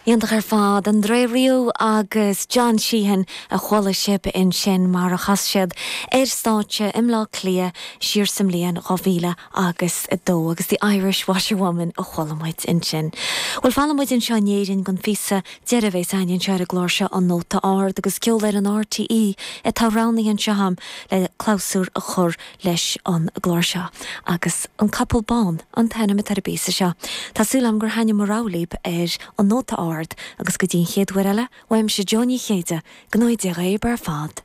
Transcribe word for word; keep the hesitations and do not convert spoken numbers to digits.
Iontach ar fad André Rieu agus John Sheahan a chuala sibh ansin mar a chas siad ar stáitse i mBleá Cliath siar sa mbliain dhá mhíle agus a dó agus the Irish Washerwoman a chuala muid ansin. Well fanfaidh muid anseo in Éirinn don phíosa deiridh a bheas againn anseo ar an gclár seo an Nóta Ard agus ceol ar an RTE atá roghnaithe anseo agam le clabhsúr a chur leis an gclár seo. agus an Capall Bán an t-ainm atá ar an bpíosa seo. Tá súil agam gur thaitin mo rogha libh ar an Nóta Ard agus go dtí an chéad uair eile, uaimse Joe Ní Chéide, go n-éire ar fad.